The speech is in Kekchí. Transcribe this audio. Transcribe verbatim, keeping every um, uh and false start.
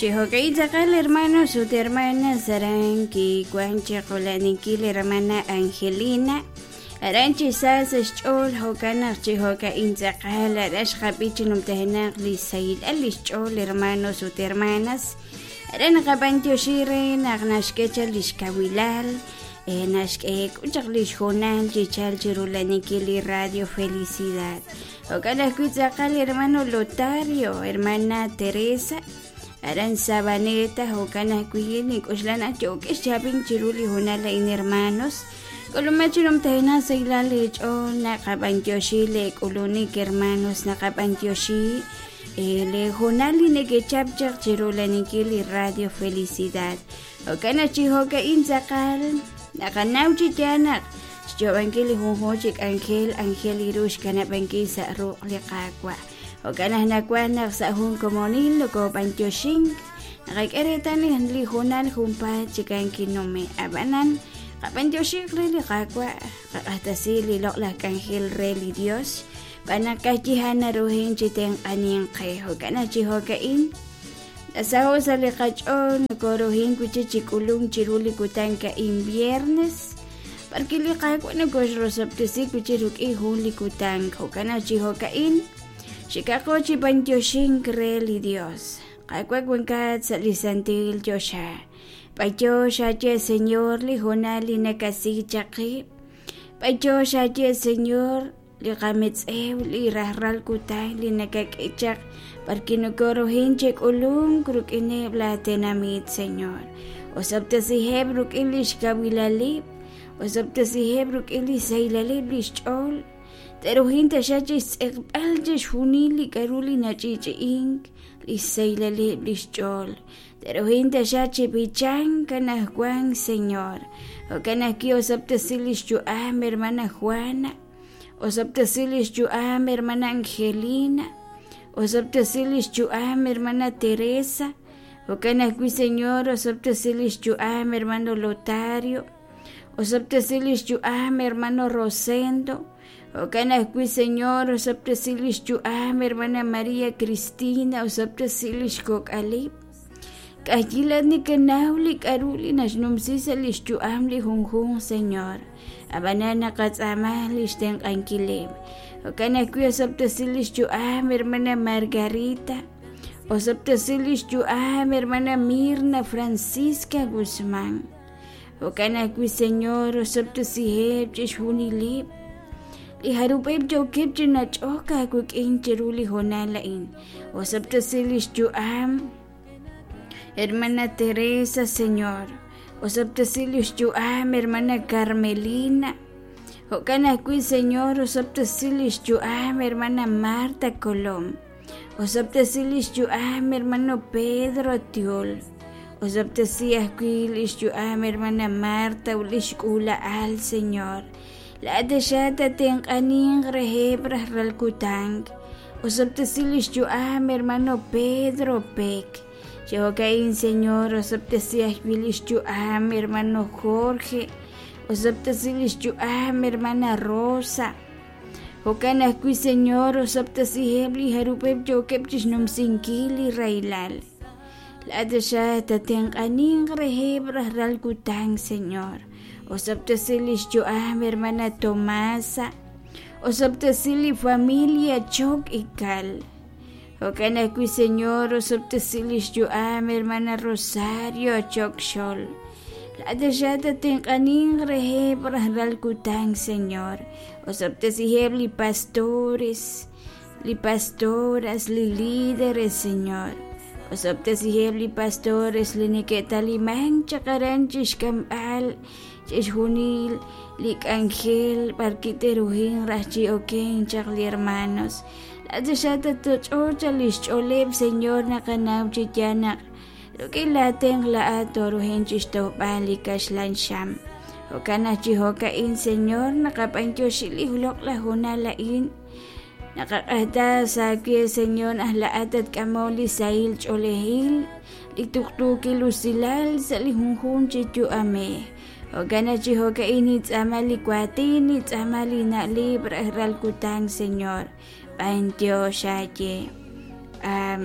Chi jo'ka'in tz'aqal hermanos ut hermanas aran kiwan chiqula'ninkil hermana Angelina aran chi sa sa' xch'ool jo'kan naq chi jo'ka'in tz'aqal aran xqab'i chi numtajenaq li sahilal li xch'ool hermanos ut hermanas aran naqab'antioxi re naq naxk'e chaq lix kawilal eh, naxk'e chaq lix hoonal chi chal chirula'ninkil li Radio Felicidad jo'kan ajwi' tz'aqal hermano Lotario hermana Teresa aran Sabaneta jo'kan ajwi' nik'uxlan naq yo'k'ex chaab'in chiru li hoonal a'in hermanos k'ulumej chi numtajenaq sahilal li ch'ool naqab'antioxi le k'ulunik hermanos naqab'antioxi eh, le hoonal li nekechap chaq chirula'ninkil li Radio Felicidad jo'kan naq chi jo'ka'in tz'aqal naqanaw chi yaal naq xyo'b'ankil li junjunq chi k'anjel anjel iru xkanab'ankil sa' ruq' li Qaawa' jo'kan naq nawaj naq sa' jun komonil nokob'antioxink naqak'e reetal li hoonal junpaat chikan kinume ab'anan qab'antioxik re li Qaawa' qaq'axtasi li loq'laj k'anjel re li Dios b'an naq kajyihan naruhin chi tenq'anin qe jo'kan naq chi jo'ka'in nasaho' sa' li qach'ool nokoruhin wichi chi k'ulunk chiru li kutan ka'in viernes porque li Qaawa' nokoxrosob'tesi wichi ruk'in jun li kutan jo'kan naq chi jo'ka'in xikaqo chi b'antioxink re li Dios Qaawa' wankat sa' li santil choxa b'antiox aye Señor li hoonal li nakasi chaq qib' b'antiox aye Señor li qametz'ew li rajlal kutan li nakak'e chaq porque nokoruhin chi k'ulunk ruk'ineb' la tenamit Señor osob'tesiheb' ruk'in lix kawilalib' osob'tesiheb' ruk'in li sahilalib' lix ch'ool teruhin taxa chi xtz'eqb'al chixjunil li k'a'ru li nach'i'ch'i'ink li sahilalib' lix ch'ool teruhin taxa chi b'ichank anajwan Señor jo'kan ajwi' osob'tesi lix yu'am hermana Juana osob'tesi lix yu'am hermana Angelina osob'tesi lix yu'am hermana Teresa jo'kan ajwi' Señor osob'tesi lix yu'am hermano Lotario osob'tesi lix yu'am hermano Rosendo jo'kan ajwi' Señor osob'tesi lix yu'am hermana María Cristina osob'tesi lix kok'alib' k'ajyilat nikanaw li k'a'ru li naxnumsi sa' lix yu'am li junjunq Señor ab'anan naqatz'aama lix tenq'ankileb' jo'kan ajwi' osob'tesi lix yu'am hermana Margarita osob'tesi lix yu'am hermana Mirna Francisca Guzmán jo'kan ajwi' Señor osob'tesiheb' chixjunileb' li jarub'eb' yookeb' chi nach'ok aawik'in chiru li hoonal a'in osob'tesi lix yu'am hermana Teresa Señor osob'tesi lix yu'am hermana Carmelina jo'kan ajwi' Señor osob'tesi lix yu'am hermana Marta Colom osob'tesi lix yu'am hermano Pedro Tiol osob'tesi ajwi' lix yu'am hermana Marta ut lix k'uula'al Señor laat taxa tatenq'aninq reheb' rajlal kutan osob'tesi lix yu'am hermano Pedro Peck chi jo'ka'in Señor osob'tesi ajwi' lix yu'am hermano Jorge osob'tesi lix yu'am hermana Rosa jo'kan ajwi' Señor osob'tesiheb' li jarub'eb' yookeb' chixnumsinkil li rahilal laat taxa tatenq'aninq reheb' rajlal kutan Señor osob'tesi lix yu'am hermana Tomasa osob'tesi li familia Chok Ikal jo'kan ajwi' Señor osob'tesi lix yu'am hermana Rosario Chok Xol laat taxa tatenq'aninq reheb' rajlal kutan Señor osob'tesiheb' li pastores li pastoras li líderes Señor osob'tesiheb' li pastores li neke'talimank chaq aran chixk'amb'al chixjunil li k'anjel b'arki teruhin raj chi oken chaq li hermanos laat taxa tatoch'och lix ch'ooleb' Señor naqanaw chi yaal naq ruk'in laatenq la'at toruhin chixtojb'al li kaxlan xam jo'kan naq chi jo'ka'in Señor naqab'antioxi li loq'laj hoonal a'in naqaq'ajta sa' aawe Señor aj la'at tatk'amol li sahil ch'oolejil li tuqtuukil usilal sa' li junjunq chi yu'amej jo'kan naq chi jo'ka'in nitz'aama li waatin nitz'aama li na'leb' rajlal kutan Señor b'antiox aye. Amén.